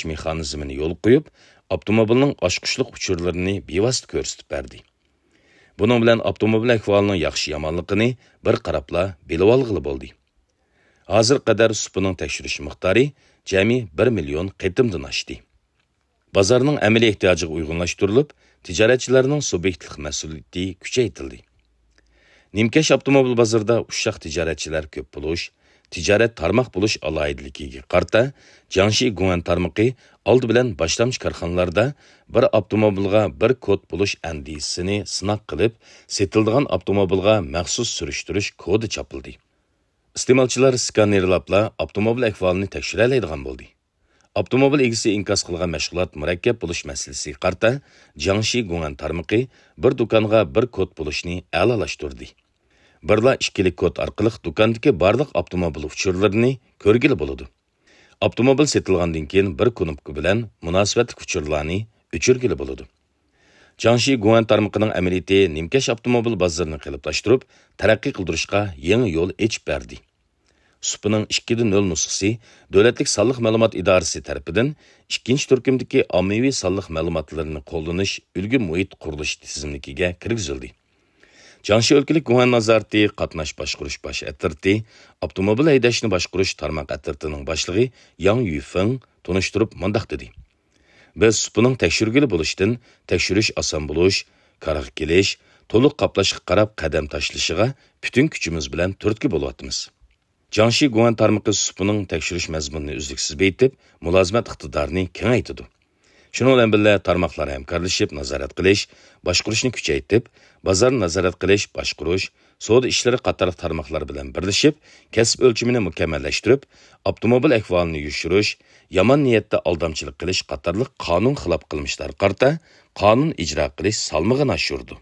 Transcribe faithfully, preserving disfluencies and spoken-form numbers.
مېخانىزمىنى يولغا قويۇپ، ئاپتوموبىلنىڭ ئاچقۇچلۇق ئۇچۇرلىرىنى بىۋاسىتە كۆرسىتىپ بەردى. بۇنىڭ بىلەن ئاپتوموبىل ئەھۋالىنىڭ ياخشى-يامانلىقىنى بىر قاراپلا بىلىۋالغىلى بولدى. ھازىرغا قەدەر سۇپىنىڭ تەكشۈرۈش مىقدارى جەمئىي بىر مىليون قېتىمدىن ئاشتى. بازارنىڭ ئەمەلىي ئېھتىياجىغا ئۇيغۇنلاشتۇرۇلۇپ، تىجارەتچىلەرنىڭ سۇبيېكتلىق مەسئۇلىيىتى كۈچەيتىلدى. نىمكەش ئاپتوموبىل بازىرىدا ئۇششاق تىجارەتچىلەر كۆپ بولۇش، تىجارەت تارماق بولۇش ئالاھىدىلىكىگە قارىتا، جياڭشى گۇڭئەن تارمىقى ئالدى بىلەن باشلامچى كارخانىلاردا بىر ئاپتوموبىلغا بىر كود بولۇش ئەندىزىسىنى سىناق قىلىپ، سېتىلىدىغان ئاپتوموبىلغا مەخسۇس سۈرۈشتۈرۈش كودى چاپلىدى. ئىستېمالچىلار سكانېرلاپلا ئاپتوموبىل ئەھۋالىنى تەكشۈرەلەيدىغان بولدى. ئاپتوموبىل ئىگىسى ئىنكاس قىلغان مەشغۇلات مۇرەككەپ بولۇش مەسىلىسىگە قارىتا، جياڭشى گۇڭئەن تارمىقى بىر دۇكانغا بىر كود بولۇشنى ئەلالاشتۇردى. بىرلا ئىككىلىك كود ئارقىلىق دۇكاندىكى بارلىق ئاپتوموبىل ئۇچۇرلىرىنى كۆرگىلى بولىدۇ. ئاپتوموبىل سېتىلغاندىن كېيىن بىر كۇنۇپكا بىلەن مۇناسىۋەتلىك ئۇچۇرلارنى ئۆچۈرگىلى بولىدۇ. جياڭشى گۇڭئەن تارمىقىنىڭ ئەمەلىيىتى نىمكەش ئاپتوموبىل بازىرىنى قېلىپلاشتۇرۇپ، تەرەققىي قىلدۇرۇشقا يېڭى يول ئېچىپ بەردى. سۇپىنىڭ ئىككىدە نۆل نۇسخىسى دۆلەتلىك سانلىق مەلۇمات ئىدارىسى تەرىپىدىن ئىككىنچى تۈركۈمدىكى ئاممىۋى سانلىق مەلۇماتلىرىنى قوللىنىش ئۈلگە مۇھىت قۇرۇلۇشى تىزىملىكىگە كىرگۈزۈلدى. جياڭشى ئۆلكىلىك گۇڭئەن نازارىتى قاتناش باشقۇرۇش باش ئەترىتى، ئاپتوموبىل ھەيدەشنى باشقۇرۇش تارماق ئەترىتىنىڭ باشلىقى ياڭ يۈفېڭ تونۇشتۇرۇپ مۇنداق دېدى: بىز سۇپىنىڭ تەكشۈرگىلى بولۇشتىن تەكشۈرۈش ئاسان بولۇش، كارغا كېلىش، تولۇق قاپلاشقا قاراپ قەدەم تاشلىشىغا پۈتۈن كۈچىمىز بىلەن تۈرتكە بولۇۋاتىمىز. جياڭشى گۇڭئەن تارمىقى سۇپىنىڭ تەكشۈرۈش مەزمۇنىنى ئۈزلۈكسىز بېيىتىپ، مۇلازىمەت ئىقتىدارىنى كېڭەيتىدۇ. شۇنىڭ بىلەن بىللە، تارماقلار ھەمكارلىشىپ نازارەت قىلىش، باشقۇرۇشنى كۈچەيتىپ، بازارنى نازارەت قىلىش، باشقۇرۇش، سودا ئىشلىرى قاتارلىق تارماقلار بىلەن بىرلىشىپ، كەسىپ ئۆلچىمىنى مۇكەممەللەشتۈرۈپ، ئاپتوموبىل ئەھۋالىنى يوشۇرۇش، يامان نىيەتتە ئالدامچىلىق قىلىش قاتارلىق قانۇن خىلاپ قىلمىشلارغا قارىتا قانۇن ئىجرا قىلىش سالمىقىنى ئاشۇرىدۇ.